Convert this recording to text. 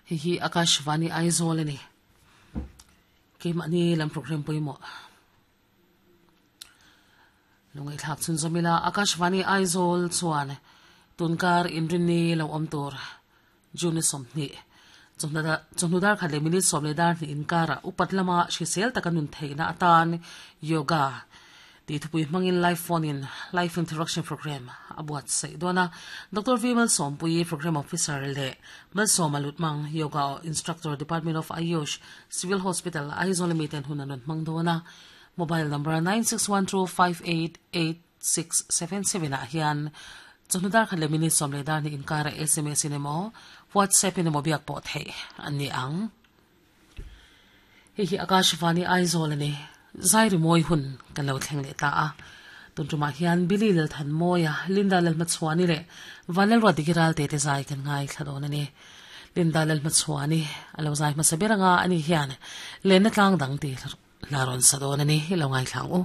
Hei hi Akashvani Aizawl a ni. Keimahni lam program pawimawh. Lungaihthlak chhunzawm ila Akashvani Aizawl chuan tunkar inrinni lo awm tur June 20 chawhnu dar khat leh minute sawm leh dar hnih inkarah upat lama hrisel taka nun theihna atan Yoga tih thupui hmangin live phone in live interaction program a buatsaih dawn a. Doctor V Malsawmpuii Program Officer leh Malsawma Lutmang Yoga Instructor Department of Ayush Civil Hospital Aizawl ami ten hun an rawn hmang dawn a. Mobile number 9612588677 ah hian chawhnu dar khat leh minute sawm leh dar hnih inkarah sms in emaw WhatsApp in emaw biak pawh theih an ni ang. Hei hi Akashvani Aizawl a ni. Zai rimawi hun kan lo thleng leh ta a. Tun tumah hian Billy Lalthanmawia, Linda Lalhmachhuani leh Vanlalruat Digiral te te zai kan ngaithla dawn a ni. Linda Lalhmachhuani a lo zai hmasa ber anga ani hian lenna tlang dang tih hla rawn sa dawn a ni. I lo ngaithla ang u.